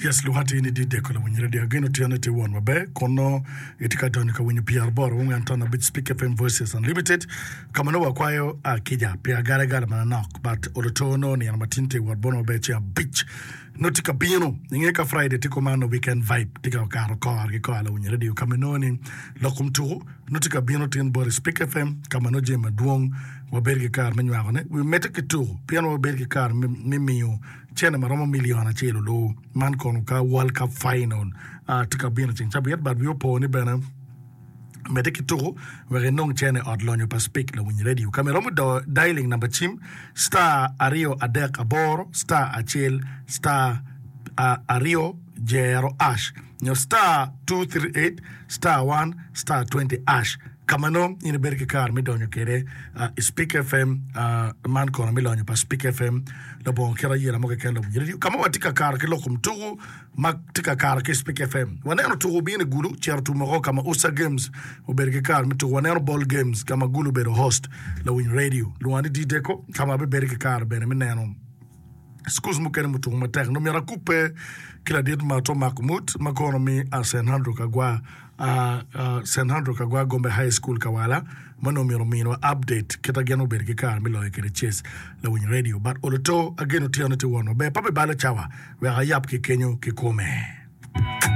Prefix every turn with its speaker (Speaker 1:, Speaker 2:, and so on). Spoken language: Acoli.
Speaker 1: Yes, lwonga atir ni Dideko lawiny radio. Ageno tyene tye won maber kun nongo itye ka donyo ka winyo pyeraboro wungen ton abic Speak FM Voices Unlimited ka ma nongo wakwayo kica pi agalagala manonok but oluto nongo nino ma tin tye wot bono maber ceng abic nongo tye ka bino inge ka Friday tye kuman nongo weekend vibe tye ka kato kore ki kore lawiny radio ka ma inongo ni lok kom tuku nongo tye ka bino tin bot i Speak FM ka ma nongo jami madwong wabedo ki kare me nywakone. Wi medde ki tuku pien wabedo ki kare me miyo cente ma romo milion acel olu. Man kono ka World Cup Final tye ka bino ceng cabit but wi opo ni bene medde ki tuku wek inong cente i ot lonyo pa Speak Lawiny Radio. Ka ma iromo dialing namba cim star 238 star acel star aryo jero ash nyo star 238 star 1 star 20 ash ka ma nongo in ibedo ki kare me donyo kwede i Speak FM man kono me lonyo pa Speak FM labongo kit ayela mo keken labongo radio ka ma watye ka kato ki lok kom tuku ma tye ka kato ki Speak FM waneno tuku obino i Gulu cito tum woko ka ma Usa Games obedo ki kare me tuku waneno Ball Games ka ma Gulu obedo host lawiny radio lwonga ni D-Deco ka ma abibedo ki kare bene me neno Schools mukene mutuku matek nongo myero akubbe ki ladit ma to mako mut ma kono mi a St. Andrew Kagwa St. Andrew Kagwa Gombe High School Kawala ma nongo myero ominwa update kita gin obedo ki kare me loyo kede chess lawiny radio but oloto ageno tyene tye won maber pe abibalo cawa wek ayab ki kenyo kikome.